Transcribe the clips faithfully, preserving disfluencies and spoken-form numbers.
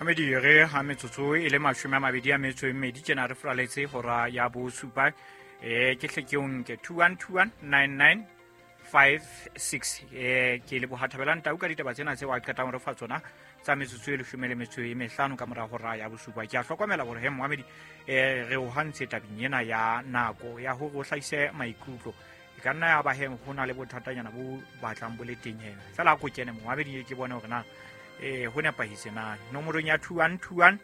Medire ha metsotso e le mashome a mabedi a metso e mmedi tjena re furaletse hora ya bosupa. Eh ke hle ke o nke two one two one nine nine five six. Eh ke leboha Thabelang Tau ka ditaba tsena tseo a qetang re fa tsona tsa metsotso e leshome le metso e mehlano ka mora hora ya bosupa. Ke a hlokomela hore he Mohamedi eh re o hantse tabeng ena ya nako ya hore o hlahise maikutlo. E ka nna ya ba he ho na le bothatanyana bo batlang bo le teng he. Fela a ko kene Mohamedi ke bone hore na eh ho nepahetse na. Nomorong ya two one two one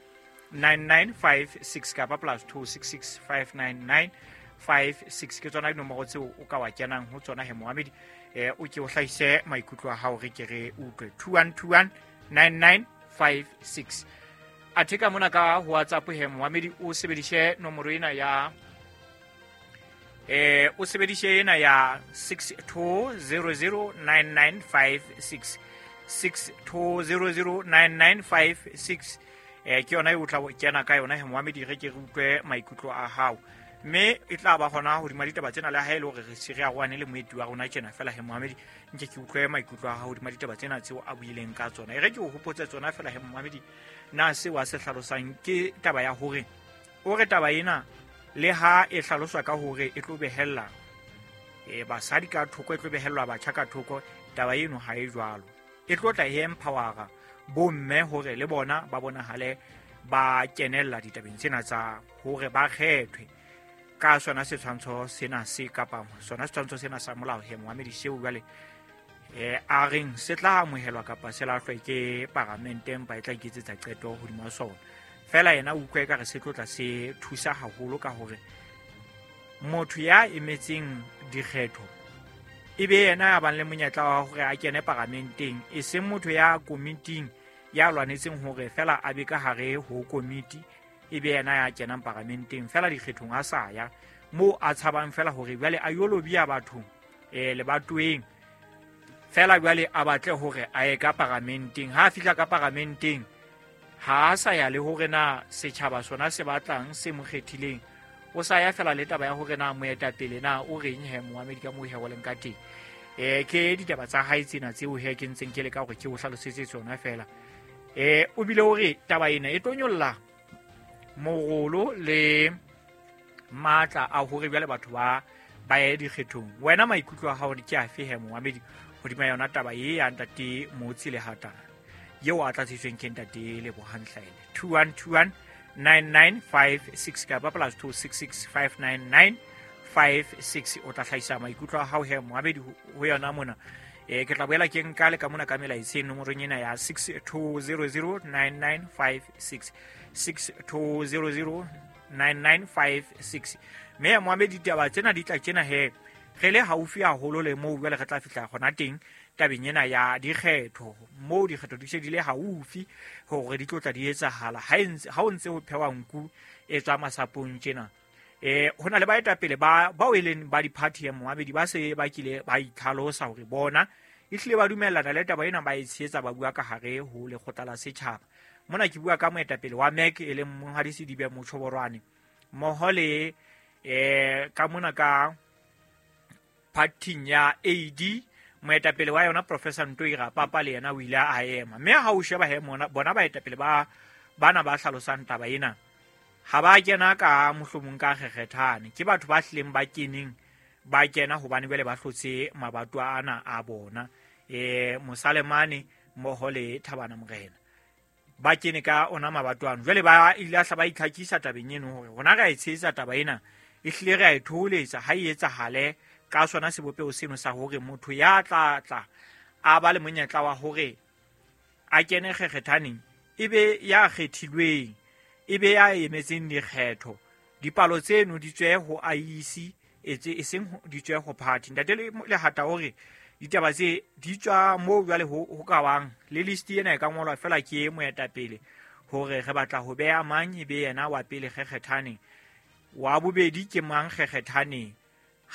nine nine five six kapa plus two six six five nine nine five six ke tsona dinomoro tseo o ka wa kenang ho tsona he Mohamedi. Eh o ke o hlahise maikutlo a hao re ke re utlwe. two one two one nine nine five six. Athe ka mona ka ho WhatsApp he Mohamedi o sebedise nomoro ena ya eh o sebedise ena ya six two zero zero nine nine five six. six two zero zero nine nine five six. Eh ke yona e o tla kena ka yona he Mohamedi re ke re utlwe maikutlo a hao. Mme e tla ba hona hodima ditaba tsena le ha e le hore re se re arohane le moeti wa rona tjena fela he Mohamedi nke ke utlwe maikutlo a hao hodima ditaba tsena tseo a buileng ka tsona. E re ke o hopotse tsona fela he Mohamedi na seo a se hlalosang ke taba ya hore o re taba ena le ha e hlaloswa ka hore e tlo behella e basadi ka thoko, e tlo behellwa batjha ka thoko, taba eno ha e jwalo. E tlo tla e empowera bomme hore le bona ba bonahale ba kenella ditabeng tsena tsa hore ba kgethwe ka sona setshwantsho sena se kapa sona setshwantsho sena sa molao he Mohamedi seo jwale eh a reng se tla amohelwa kapa se lahlwe ke paramente empa e tla iketsetsa qeto hodima sona. Fela yena o utlwa ekare se tlo tla se thusa haholo ka hore motho ya emetseng dikgetho e be yena ya bang le monyetla wa hore a kene paramenteng, e seng motho ya komiting ya lwanetseng hore fela a be ka hare ho komiti e be yena ya kenang paramenteng fela dikgethong a sa ya moo a tshabang fela hore jwale a yo lobia batho eh lebatoweng fela jwale a batle hore a ye ka paramenteng. Ha a fihla ka paramenteng ha a sa ya le hore na setjhaba sona se batlang se mo kgethileng, o sa ya fela le taba ya hore na moetapele na o reng he Mohamedi ka moo he o leng ka teng. Eh ke ditaba tsa hae tsena tseo he ke ntseng ke le ka hore ke o hlalosetse tsona fela. Eh o bile hore taba ena e tlo nyolla morolo le matla a hore jwale batho ba ba ye dikgethong. Wena maikutlo a hao ke afe he Mohamedi hodima yona taba e ya ntate Motsi Lehata eo a tlatsitsweng ke ntate Lebohang Hlaele? two one two one nine nine five six kapa plus two six six five nine nine five six. O tla hlahisa maikutlo a hao he Mohamedi ho yona mona. Eh ke tla boela ke nka le ka mona ka melaetseng nomorong ena ya six two zero zero nine nine five six. six two zero zero nine nine five six. Mme Mohamedi ditaba tsena di tla tjena he re le haufi haholo le moo jwale re tla fihla hona teng tabeng ena ya dikgetho, moo dikgetho di se di le haufi hore di tlo tla di etsahala. Ha ha o ntse ho phewa nku e tswa masapong tjena. Eh ho na le baetapele ba bao e leng ba di-party ya Mohamedi ba se ba kile ba itlhalosa hore bona ehlile ba dumellana le taba ena, ba e tshehetsa, ba bua ka hare ho lekgotla la setjhaba. Mona ke bua ka moetapele wa M E C e leng Monghadi Sedibe Motjhoborwane mmoho le eh ka mona ka party ya A D moetapele wa yona Professor Ntoi Rapapa le yena o ile a ema. Mme ha o sheba he mona bona baetapele ba bana ba hlalosang taba ena ha ba kena ka mohlomong ka kgekgethane, ke batho ba hlileng ba keneng ba kena hobane jwale ba hlotse mabato ana a bona eh Mosalemane mmoho le Thabana Morena ba kene ka ona mabato ano. Jwale ba ile a hla ba itlhakisa tabeng eno hore rona re a e tshehetsa taba ena, ehlile re a e thoholetsa ha e etsahale ka sona sebopeho seno sa hore motho ya tla tla a ba le monyetla wa hore a kene kgekgethaneng e be ya kgethilweng, e be ya emetseng dikgetho, dipalo tseno di tswe ho I E C etse e seng di tswe ho party. Ntate Lehata hore ditaba tse di tswa moo jwale ho ho ka bang le list ena e ka ngolwa fela ke moetapele hore re batla ho beha mang e be yena wa pele kgekgethaneng, wa bobedi ke mang kgekgethaneng.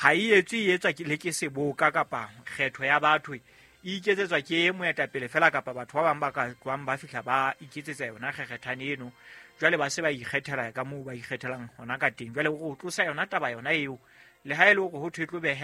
Ha e etswe e etswa le ke seboka kapa kgetho ya batho e iketsetswa ke moetapele fela kapa batho ba bang ba ka tlohang ba fihla ba iketsetsa yona kgekgethane eno, jwale ba se ba ikgethela ka moo ba ikgethelang hona ka teng. Jwale ho tlosa yona taba yona eo le ha e le hore ho thwe tlo behe